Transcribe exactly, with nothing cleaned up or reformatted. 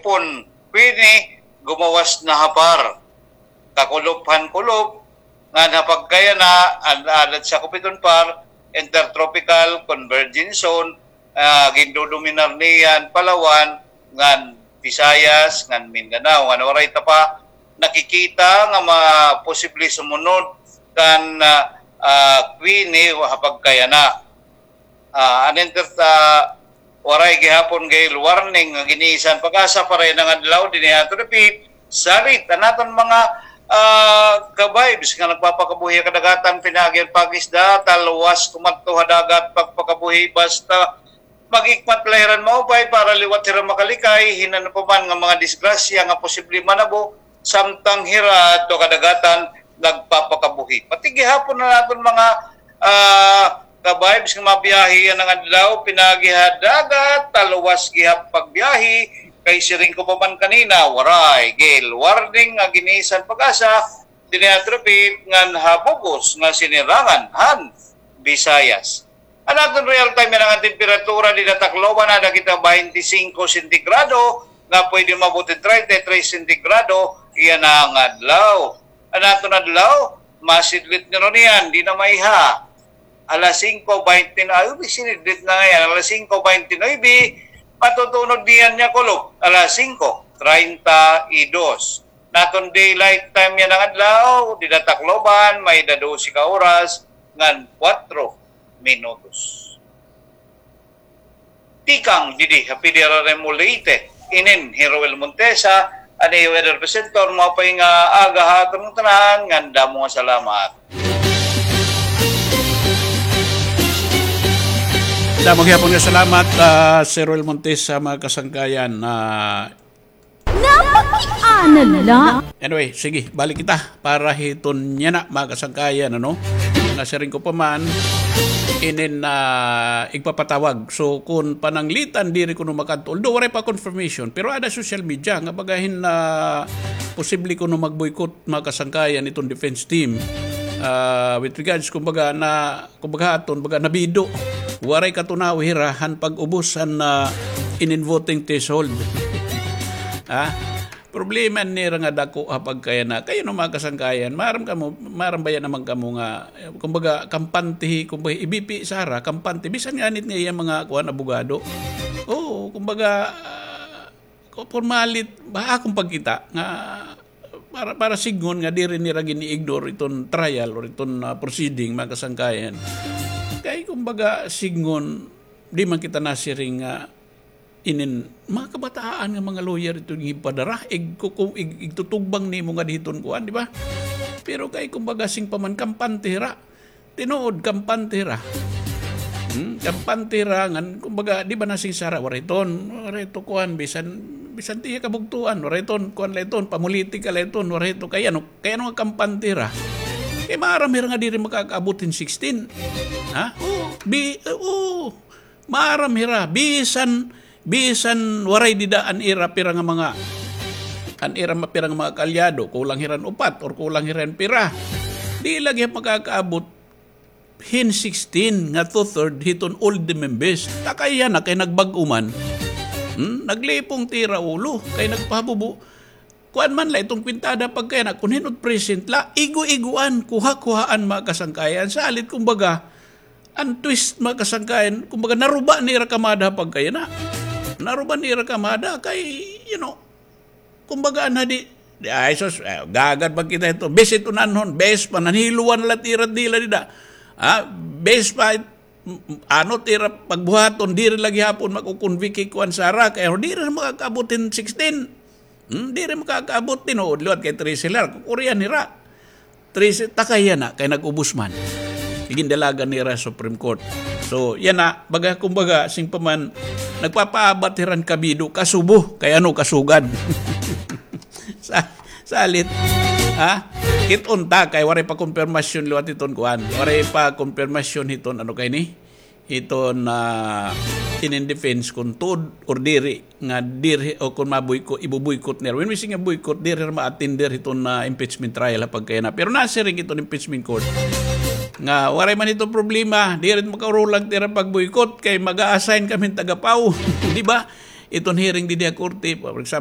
Pon, Queenie, gumawas na ha par. Kakulop han kulop, ngan ha pagkayana, an alad sa kupiton par, intertropical convergence zone, ah, gindodominar niyan Palawan, ngan Visayas, ngan Mindanao, ngan waray ta pa nakikita nga ma-, posible sumunod kan, ah, ah, Queenie ha pagkayana. Ah, an inter-, ah, waray gihapon gale warning nga ginisan PAGASA para yana nga adlaw dinhi ha aton dapit. Salit an aton mga, ah, ka-vibes nga nagpapakabuhi ha kadagatan, pinaagi han pag-isda, talwas kumadto ha dagat pagpakabuhi, basta mag-ikmat la hira hin maupay para liwat hira makalikay hin ano pa man nga mga disgrasya nga posible manabo samtang hira adto ha kadagatan nagpapakabuhi. Pati gihapon an aton mga, ah, ka-vibes nga mabiyahe yana nga adlaw, pinaagi ha dagat, talwas gihap pagbiyahe, kay siring ko pa man kanina, waray gale warning nga ginisan PAGASA dinhi ha aton dapit ngan ha bug-os nga sinirangan han Visayas. An aton real time yana nga temperatura dida ha Tacloban, ada kita baynte singko sentigrado, nga pwede maabot hin treinta y tres sentigrado yana nga adlaw. An aton adlaw, masidlit nira niyan, di na maiha. Alas singko baynte nuebe, sinidlit na ngay-an, alas singko baynte nuebe, matutunod niyan nga kulop, alas singko treinta y dos. An aton daylight time yana nga adlaw, dida ha Tacloban, may-ada dose ka oras ngan kuwatro minutos. Tikang didi ha P D R R M Leyte, inin hi Roel Montesa, an iyo weather presenter, maupay nga aga ha aton tanan, ngan damo nga salamat. Damo gihapon nga salamat, ah, Sir Roel Montesa, mga kasangkayan. Ah, Napakiana la. Anyway, sige, balik kita para hiton yana, mga kasangkayan, ano? Nasiring ko pa man, inin, ah, igpapatawag. So, kun pananglitan, diri kuno makadto. Although, waray pa confirmation, pero ada social media, nga baga hin, ah, posible kuno mag-boycott, mga kasangkayan, iton defense team. Ah, with regards, kumbaga, na kumbaga aton, baga nabido. Waray katunaw hira han pag-ubos han, ah, inin voting threshold. Ah, problema nira nga dako ha pagkayana. Kay ano, mga kasangkayan, maaram kamo, maaram baya naman kamo nga, eh, kumbaga, kampante, kumbaga, ibipi sara, kampante. Bisan nga anit nga iya mga, kuan, abogado. Oo, kumbaga, ah, Ko-, pormalit, ba, akon pagkita nga para, para sidngon nga diri nira gini-ignore iton trial or iton, ah, proceeding, mga kasangkayan. Kay, kumbaga, sidngon, di man kita nasiring nga inin mga kabataan nga mga lawyer iton gipadara, ig-, ku-, ku-, ig-, igtutugbang nimo nga diton kuan, di ba? Pero kay, kumbaga, sing pa man kampante hira, Tinuod, kampante hira. Hmm, kampante hira ngan, kumbaga, di ba, nasing sara, waray ton, waray to kuan, bisan, bisan tiya kabugtuan, waray ton, kuan la iton, pamulitika la iton, waray to, kay ano, kay ano nga kampante hira? Kay maaram hira nga diri makakaabot hin sixteen. Ha? Oo, bi-, oo. Maaram hira, bisan, bisan waray dida an ira pira nga mga, an ira ma-, pira nga mga kaalyado, kulang hira hin upat or kulang hira hin pira. Di la gihap makakaabot hin sixteen nga two-third hiton old members. Ta kay yana kay nagbag-o man. Hmm? Naglipong tira ulo, kay nagpahabubo. Kuan man la iton kwintada pagkayana, kun hin-o it present la, igo-igoan, kuha-kuhaan, mga kasangkayan. Salit, kumbaga, an twist, mga kasangkayan, kumbaga, naruba nira kamada pagkayana. Naruba nira kamada kay, you know, kumbaga, an hadi, di, ay, sus, eh, gagad ba kita hito? Bes it unanhon, bes pa, nanhiluan la it ira dila dida. Ah, bes pa, ano it ira pagbuhaton, diri la gihapon makukonvict hi kuan sara, kay diri na makakaabot hin sixteen. Hmm, diri makakaabot, tinuod liwat kay trese la, kukurian hira. Trese, ta kay yana, kay nag-ubos man. Gindalagan nira Supreme Court. So, yana, baga, kumbaga, sing pa man, nagpapaabat hira hin kabido, kasubo, kay ano, kasugad. Sa, salit, ha? Kit-on ta, kay waray pa kumpirmasyon liwat hiton kuan. Waray pa kumpirmasyon hiton, ano kay ni? Hiton, ah, inin defense kun tuod or diri, nga diri, o kun maboycott, iboboycott nira. When we say nga boycott, diri hira ma-attender hiton, ah, impeachment trial ha pagkayana. Pero nasiring hiton impeachment court nga waray man hiton problema, diri makaurulag tira pag-boycott kay mag-a-assign kami hin taga-Pau. Di ba? Iton hearing didi ha korte, for example,